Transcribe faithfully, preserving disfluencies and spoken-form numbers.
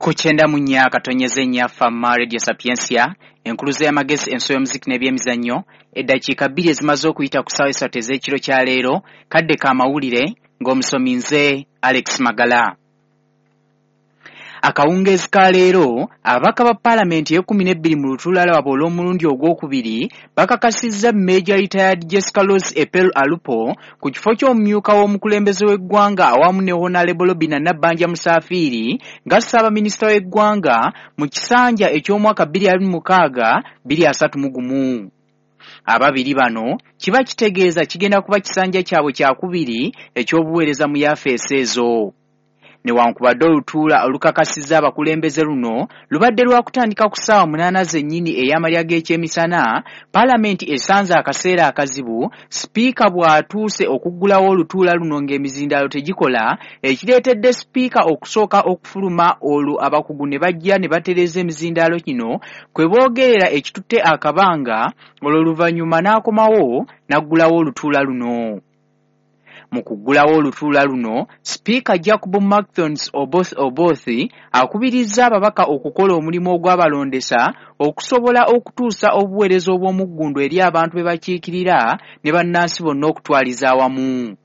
Ku kyenda mu nnya akatonyeze nnya Fama Radio Sapientia, enkuluze y'amagezi, enso y'omuziki n'ebyemizannyo. Eddakiika bbiri ezimaze okuyita ku ssaawa esatu ez'ekiro kya leero, kadde ka mawulire ng'omusomi nze Alex Magala. Akawungeezi ka leero, ababaka ba paalamenti ey'ekkumi n'ebbiri mu lutuula lwabwe olw'omulundi ogwokubiri bakakasizza Major Retired Jessica Rose Epel Alupo ku kifo ky'omumyuka w'omukulembeze w'eggwanga awamu ne Honorable Robinah Nabbanja Musafiri nga ssaabaminisita w'eggwanga mu kisanja eky'omwaka bbiri abiri mu mukaaga bbiri asatu mu gumu. Ababiri bano kiba kitegeeza kigenda kuba kisanja kyabwe kyakubiri eky'obuweereza mu yafeesi ezo. Newankubadde olutuula olukakasizza abakulembeze luno lubadde lwakutandika ku ssaawa munaana zennyini ey'amalya g'ekyemisana, paalamenti esanze akaseera akazibu sipiika bw'atuuse okuggulawo olutuula luno ng'emizindaalo tegikola, ekireetedde sipiika okusooka okufuluma olwo abakugu ne bajja ne batereeza emizindaalo kino kwe boogerera ekitutte akabanga, olwo oluvannyuma n'akomawo n'aggulawo olutuula luno. Mu kuggulawo olutuula luno, sipiika Jacob Markthons Oboth Oboth akubirizza ababaka okukola omulimu ogw'abalondesa okusobola okutuusa obuweereza obw'omuggundu eri abantu be bakiikirira ne bannansi bonna okutwaliza awamu.